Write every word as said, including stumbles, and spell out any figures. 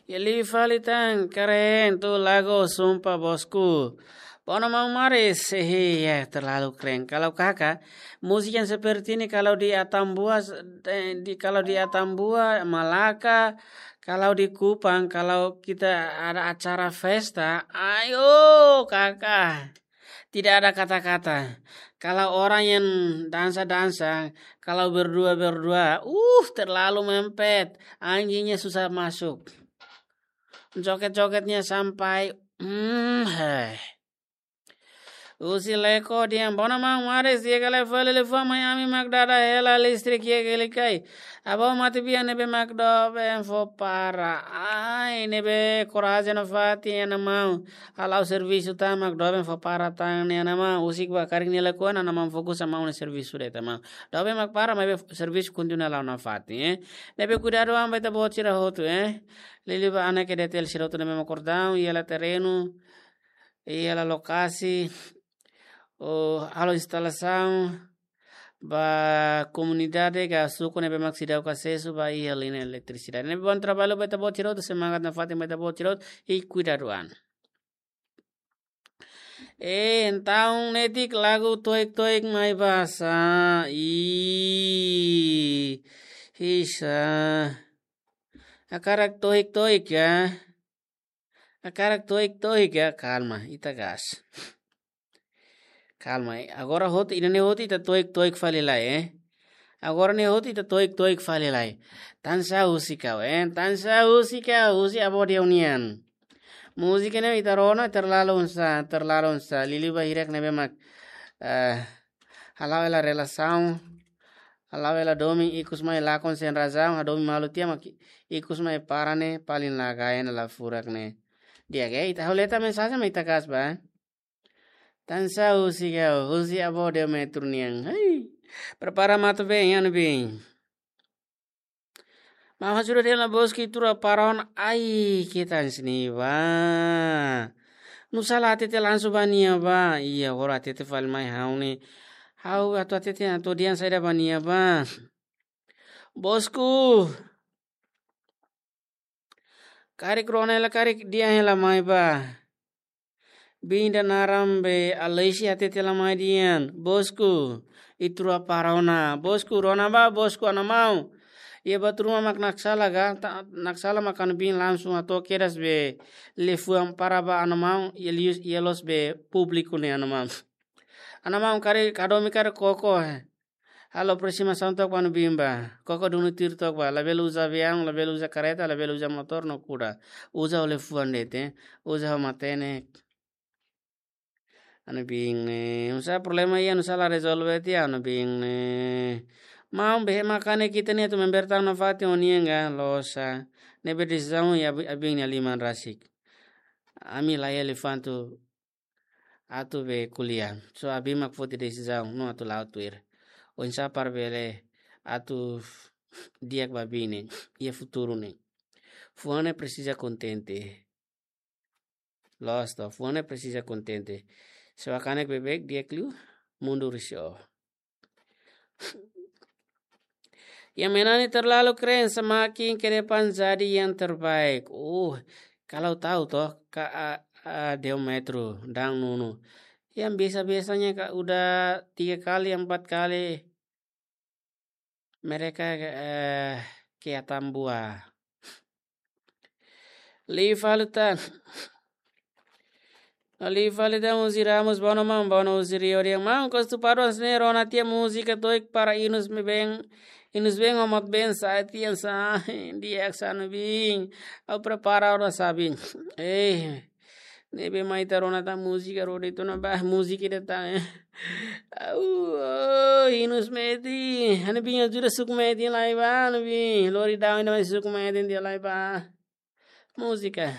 Iha liu fali tan, keren, tuur lagu, sumpah bosku. Bom, maun Maris, eh, ya, terlalu keren. Kalau kakak, musik yang seperti ini kalau di Atambua, eh, di, kalau di Atambua, Malaka, kalau di Kupang, kalau kita ada acara pesta, ayo kakak. Tidak ada kata-kata. Kalau orang yang dansa-dansa, kalau berdua-berdua, uh, terlalu mempet. Anjingnya susah masuk. Joget-jogetnya sampai, hmm, heh. Husi Leko dehan, bom, maun Maris, di'ak ka lae fali liafuan mai, ami mak dada hela listrik iha Gelikai. Avó matebian ne'ebé mak doben fó para. Ai, ne'ebé korajen nafatin, iha maun. Hala'o servisu tan mak doben fó para tan ne'e, iha maun. Husik ba karik nia lakohi, iha maun, fokus iha maun nia servisu de'it, iha maun. Doben mak para, maibé servisu kontinua la'o nafatin, eh. Ne'ebé kuidadu an ba ita-boot sira hotu, eh. Liuliu ba hanesan ke detel sira hotu ne'ebé mak kordau, iha hela terrenu, iha hela lokasi, ou halo instalasaun ba komunidade ka suku ne'ebé mak seidauk asesu ba iha liña eletrisidade. Ne'ebé bom traballu ba ita-boot sira hotu, semangat nafatin ba ita-boot sira hotu, i kuidadu an. Eh, entaun netik lagu toik-toik mai basa. Ih, hisa. Hakarak toik-toik ka? Hakarak toik-toik ka? Kalma, ita gas. Kalma, eh. Agora hotu, ida-ne'e hotu ita toik-toik fali lai, eh. Agora ne'e hotu ita toik-toik fali lai. Tansá husik ha'u, eh. Tansá husik ha'u, husi avó Deu nian. Múzika ne'e ita rona terlalu oinsá, terlalu oinsá. Liuliu ba hirak ne'ebé mak, eh, hala'o hela relasaun, hala'o hela domin, ikus mai lakon sein razaun, hadomi malu tiha mak ikus mai para ne'e, paling la gaen la furak ne'e. Di'ak, eh, ita halo letra, mensajen mak ita gas ba. Tansá husik ha'u, husi avó Deu Metru nian. Hei, prepara matu-been, iha ne'ebé. Maun, ha'u sudah dehan ba bosku, iha Turuaparon, ai, ke tan sini ba. Nusá la hatete langsung ba nia ba. Iha, agora hatete fali mai ha'u ne'e. Ha'u atu hatete, atu dehan saida ba nia ba. Bosku. Karik rona hela, karik dehan hela mai ba. Biin ida naran be Alexia hatete hela mai dehan, bosku, iha Turuaparon ona, bosku, rona ba, bosku, iha maun. Iha buat ruma mak naksala ka, ta-, naksala mak iha ne'ebé langsung hato'o kedas be liafuan para ba iha maun, iha lius, iha loos be públiku ne'e iha maun. Iha maun karik hadomi karik koko, eh. Halo aproximasaun took ba iha ne'ebé ba. Koko duni tuir took ba. Labele uza aviaun, labele uza kareta, labele uza motór no kuda. Uza ho liafuan de'it, eh. Uza ho matenek. Iha ne'ebé ne'e. Nusá problema iha, nusá la rezolve tiha iha ne'ebé ne'e. Maun, be ema kanek ita ne'e atu member tan nafatin ho nia ka, loos sa. Ne'ebé desizaun iha abi-, abiin nia liman rasik. Ami la iha liafuan atu atu be ko'alia. Só abiin mak foti desizaun, no atu la'o tuir. Oinsá para bele atu di'ak ba abiin ne'e, iha futuru ne'e. Fuan ne'e presiza kontente. Loos to, fuan ne'e presiza kontente. Se ó hakanek beibeik, di'ak liu, mundu risau. Yang menyanyi terlalu keren, semakin ke depan jadi yang terbaik. Uh, kalau tahu toh, Kak A-, A-, Deu Metru, Dang Nunu. Yang biasa-biasanya, Kak, udah tiga kali, empat kali mereka, eh, ke Atambua. Liu fali tan. Liu fali tan, husi Ramos, bom, maun, bom, husi Rio dehan, maun, Kostu Paduan sini rona tiha múzika toik para inus me ben, inus ben, homot ben, sai tiha, sai, di'ak sa ne'ebé. Ha'u prepara ona sabi. Eh, ne'ebé mai ita rona tan múzika, rode tu na ba, múzika ida tan, eh. Au, oh, inus metin. Iha ne'ebé ajuda suk metin lai ba, ne'ebé. Lori daun ida mai suk metin tiha lai ba. Múzika.